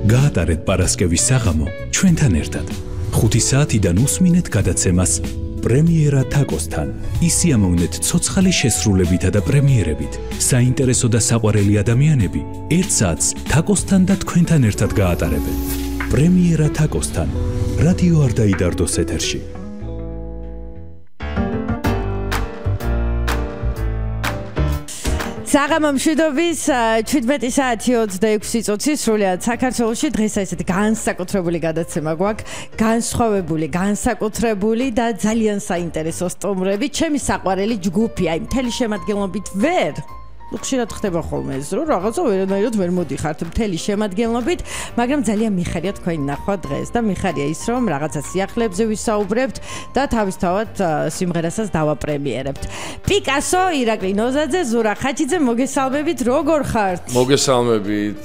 გაატარეთ პარასკევის საღამო ჩვენთან ერთად. 5 საათიდან უსმინეთ გადაცემას პრემიერა თაკოსთან. ისიამოვნეთ ცოცხალი შესრულებითა და პრემიერებით. საინტერესო და საყვარელი ადამიანები 1 საათს თაკოსთან და თქვენთან ერთად გაატარებენ. პრემიერა თაკოსთან. რადიო არ დაიდარდოს ეთერში. საღამო მშვიდობის 17 საათი 26 წუთი სრულიად საქართველოში დღეს ესეთი განსაკუთრებული გადაცემა გვაქვს, განსხვავებული, განსაკუთრებული და ძალიან საინტერესო სტუმრები. ჩემი საყვარელი ჯგუფი, აი მთელი შემადგენლობით ვერ ხშირად ხდება ხოლმე ეს, რომ რაღაცა ვერანაირად ვერ მოდიხართ მთელი შემადგენლობით, მაგრამ ძალიან მიხარია თქვენი ნახვა დღეს და მიხარია ის, რომ რაღაცა სიახლეებზე ვისაუბრებთ და თავისთავად სიმღერასაც დავაპრემიერებთ. პიკასო, ირაკლი ნოზაძე, ზურა ხაჩიძე, მოგესალმებით, როგორ ხართ? მოგესალმებით.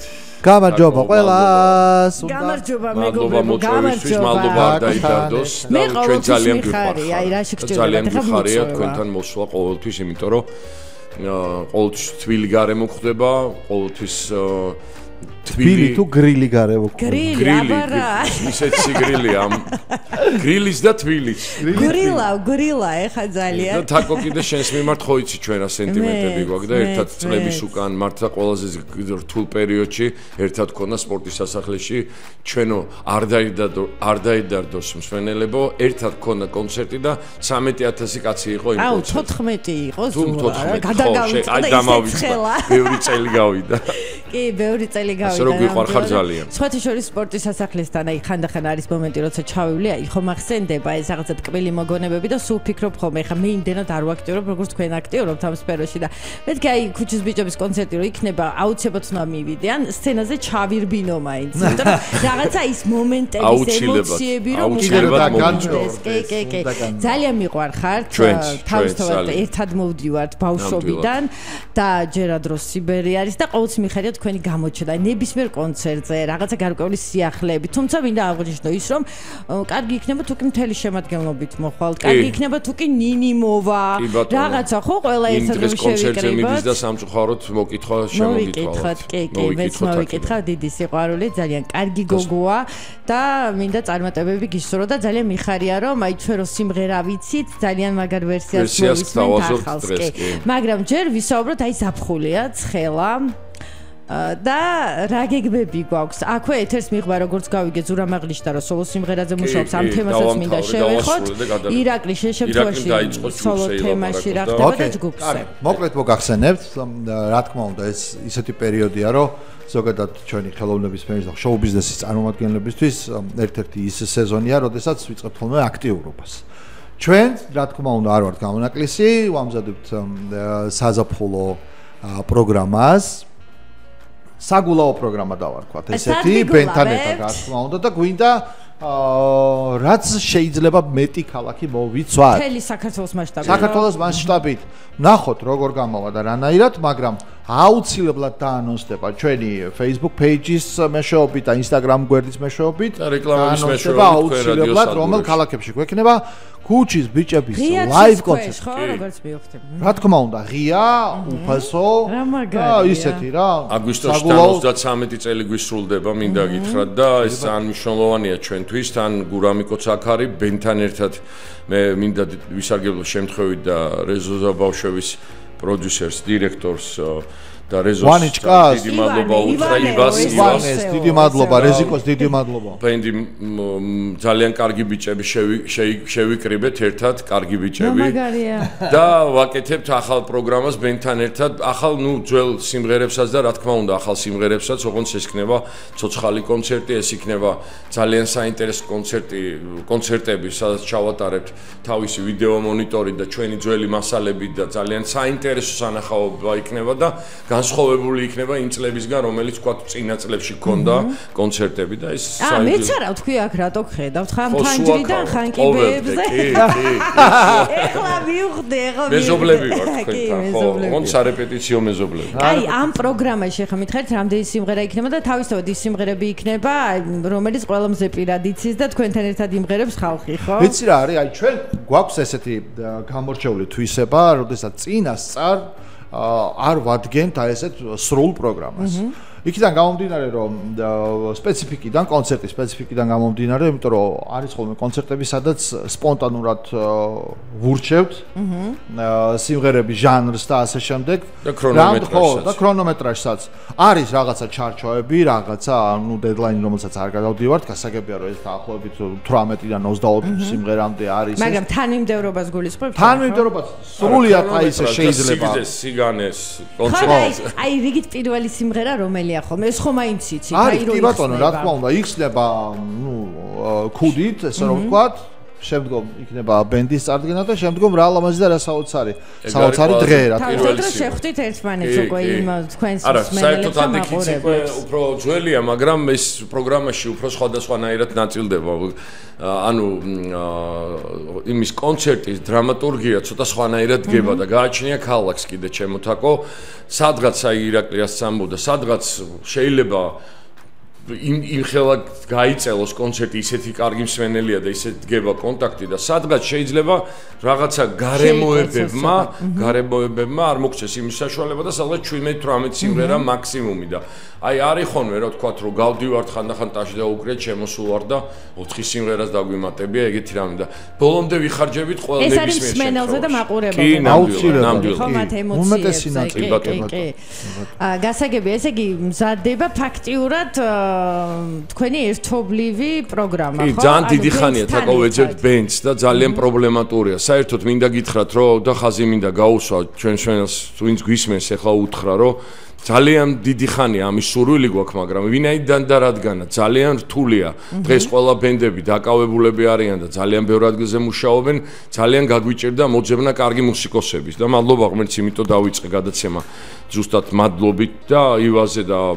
გამარჯობა ყველას. გამარჯობა მეგობრებო, გამარჯობა. მადლობა არ დაიდარდოს. ჩვენ ძალიან მიხარია, აი რაში გჭირდება. ძალიან მიხარია თქვენთან მოსვლა ყოველთვის, იმიტომ რომ ყოველთვის თბილი გარემო ხდება, ყოველთვის თბილი თუ გრილი გარემო ხდება. გრილი, ისეთი გრილია ამ გრილის და თბილის. გრილა ეხა ძალიან. და თაკო კიდე შენს მიმართ ხო იცი ჩვენა სენტიმენტები გვაქვს და ერთად წლების უკან მართლა ყველაზე რთულ პერიოდში ერთად ქონდა სპორტის სასახლეში ჩვენო არ დაიდარდოს მსვენელებო, ერთად ქონდა კონცერტი და 13000 კაცი იყო იმ კონცერტში. 14 იყო ზურა. გადაგავიწყდა აი დამავიწყდა. ბევრი წელი გავიდა. კი, ბევრი წელი გავიდა. ასე რომ გიყვარ ხარ ძალიან. სხვათა შორის სპორტის სასახლესთან აი ხანდახან არის მომენტი, როცა ჩავივლი, აი ხო მახსენდება ეს რაღაცა ტკბილი მოგონებები და სულ ფიქრობ ხოლმე, ხა მე იმდენად არ ვაქტიურობ, როგორც თქვენ აქტიურობთ ამ სფეროში და მეთქი აი ქუჩის ბიჭების კონცერტი რო იქნება, აუცილებლად უნდა მივიდე, ან სცენაზე ჩავირბინო მაინც. იმიტომ რომ რაღაცა ის მომენტების ემოციები რომ უჩვენებად კი. ძალიან მიყვარხართ. თავისთავად ერთად მოვდივართ ბავშვობიდან და ჯერადროს სიბერი არის და ყოველთვის მიხარია თქვენი გამოჩენა. ნებისმიერ კონცერტზე რაღაცა გარკვეული სიახლეები. თუმცა მინდა აღვნიშნო ის, რომ კარგი იქნება თუ კი მთელი შემადგენლობით მოხვალთ. კარგი იქნება თუ კი ნინი მოვა. რაღაცა ხო ყველა ერთად შევიკრიბოთ. კონცერტზე მიდის და სამწუხაროდ მოკითხვა შემოგითხოვოთ. კი, მეც მოვიკითხავ, დიდი სიყვარული, ძალიან კარგი გოგოა და მინდა წარმატებები გისურვო და ძალიან მიხარია, რომ აი ჩვენ რო სიმღერა ვიცით, ძალიან მაგარ ვერსიას მოვისმენთ ახალს. მაგრამ ჯერ ვისაუბროთ აი ზაფხულია, ცხელა და რა გეგმები გვაქვს? აქვე ეთერს მიღვა როგორც გავიგე ზურა მაღლიშთა რომ სოლო სიმღერაზე მუშაობს, ამ თემასაც მინდა შევეხოთ. ირაკლი შეშემთხვევაში სოლო თემაში რა ხდება და ჯგუფზე. მოკლედ მოგახსენებთ, რა თქმა უნდა ეს ისეთი პერიოდია, რომ ზოგადად ჩვენი ხელოვნების სფეროს და შოუ ბიზნესის წარმომადგენლებისთვის ერთ-ერთი ის სეზონია, როდესაც ვიწყებთ ხოლმე აქტიურობას. ჩვენ, რა თქმა უნდა, არ ვართ გამონაკლისი, ვამზადებთ საზაფხულო პროგრამას. საგულაო პროგრამა დავარქვათ ესეთი ბენთან ერთად რა თქმა უნდა და გვინდა რაც შეიძლება მეტი ქალაქი მოვიცვათ მთელი საქართველოს მასშტაბით. საქართველოს მასშტაბით ნახოთ როგორ გამოვა და რანაირად, მაგრამ აუცილებლად დაანონსდება ჩვენი Facebook page-ის მეშვეობით და Instagram გვერდის მეშვეობით და რეკლამების მეშვეობით აუცილებლად რომელ ქალაქებში გვექნება ქუჩის ბიჭების live კონცერტი. ხო, როგორც მივხვდი. რა თქმა უნდა, ღია, უფასო და ისეთი რა. აგვისტოსთან 33 წელი გვისრულდება, მინდა გითხრათ და ეს ძალიან მნიშვნელოვანია ჩვენთვის, თან გურამიკოც აქ არის, ბენთან ერთად მე მინდა ვისარგებლო შემთხვევით და რეზო ზაბავშევის პროდიუსერს, დირექტორს და რეზოს დიდი მადლობა უთხრა ივანეს, დიდი მადლობა რეზიკოს, დიდი მადლობა. ბენდი ძალიან კარგი ბიჭები შევიკრიბეთ ერთად, კარგი ბიჭები და ვაკეთებთ ახალ პროგრამას ბენთან ერთად, ახალ ძველ სიმღერებსაც და რა თქმა უნდა ახალ სიმღერებსაც, ოღონდ ეს იქნება ცოცხალი კონცერტი, ეს იქნება ძალიან საინტერესო კონცერტები, სადაც ჩავატარებთ თავისი ვიდეო მონიტორი და ჩვენი ძველი მასალები და ძალიან საინტერესო სანახაობა იქნება და განსხვავებული იქნება იმ წლებისგან, რომელიც თქვა წინა წლებში ქონდა კონცერტები და ეს მეც არა ვთქვი აქ რატო ხედავთ ხან ფანჯრიდან ხან კიბეებზე. ეხლა მივხვდი, ეხლა მეზობლები ვარ თქვენთან, ხო, ოღონდ სარეპეტიციო მეზობლები. აი ამ პროგრამაში ახლა მითხარით რამდენი სიმღერა იქნება და თავისთავად ის სიმღერები იქნება, რომელიც ყველაზე პირად იცის და თქვენთან ერთად იმღერებს ხალხი, ხო? ვიცი რა არის, აი ჩვენ გვაქვს ესეთი გამორჩეული თვისება, როდესაც წინასწარ არ ვადგენთ აი ესეთ სრულ პროგრამას. იქიდან გამომდინარე რომ სპეციფიკიდან კონცერტის სპეციფიკიდან გამომდინარე იმიტომ რომ არის ხოლმე კონცერტები სადაც სპონტანურად ვურჩევთ სიმღერების ჟანრს და ასე შემდეგ და ქრონომეტრაჟსაც და ქრონომეტრაჟსაც არის რაღაცა ჩარჩოები რაღაცა ანუ დედლაინი რომელსაც არ გადავდივართ გასაგებია რომ ეს დაახლოებით 18-დან 24 სიმღერამდე არის მაგრამ თანმიმდევრობას გულისხმობთ თანმიმდევრობას სრულიად აი ესე შეიძლება სიგანეს კონცერტი აი რიგით პირველი სიმღერა რომელია ხოლმე ეს ხომ აინც იცით აი რო იბატონო რა თქმა უნდა იხსნება ნუ ქუდით ესე რომ ვთქვათ შემდგომ იქნება ბენდის წარდგენა და შემდგომ რა ლამაზი და რა საოცარი დღე რა თქმა უნდა. თავდადრო შეხვდით ერთმანეთს უკვე იმ თქვენს არა, საერთოდ ადიქიც უკვე უფრო ძველია, მაგრამ ეს პროგრამაში უფრო სხვადასხვანაირად ნაწილდება. ანუ იმის კონცერტის დრამატურგია ცოტა სხვანაირად დგება და გააჩნია ქალაქს კიდე ჩემოთაკო, სადღაც აი ირაკლიას სამბოდა, სადღაც შეიძლება იმ ხელა გაიწელოს კონცერტი ისეთი კარგი მსმენელია და ისეთ დგება კონტაქტი და სადღაც შეიძლება რაღაცა გარემოებებმა არ მოგცეს იმის საშუალება და სადღაც 17-18 სიმღერა მაქსიმუმი და აი არის ხოლმე რა თქვათ რომ გავდივართ ხანდახან ტაში და უკრეთ შემოსულვარ და 4 სიმღერას დაგვიმატებია ეგეთი რამე და ბოლომდე ვიხარჯებით ყველა ნებისმიერ ეს არის მსმენელზე და მაყურებელზე კი ნამდვილად ხომათ ემოციებს გასაგებია ესე იგი მზადდება ფაქტიურად თქვენი ერთობლივი პროგრამა ხო? კი, ძალიან დიდი ხანია თაკო ვეძებთ ბენდს და ძალიან პრობლემატურია. საერთოდ მინდა გითხრათ, რომ და ხაზი მინდა გაუსვა ჩვენ ჩვენს ვინც გვისმენს ახლა უთხრა, რომ ძალიან დიდი ხანია ამის სურვილი გვაქვს, მაგრამ ვინაიდან და რადგანაც ძალიან რთულია. დღეს ყველა ბენდები დაკავებულები არიან და ძალიან ბევრ ადგილზე მუშაობენ, ძალიან გაგვიჭირდა მოძებნა კარგი მუსიკოსების და მადლობა ღმერთს, იმიტომ დავიწყე გადაცემა ზუსტად მადლობით და ივაზე და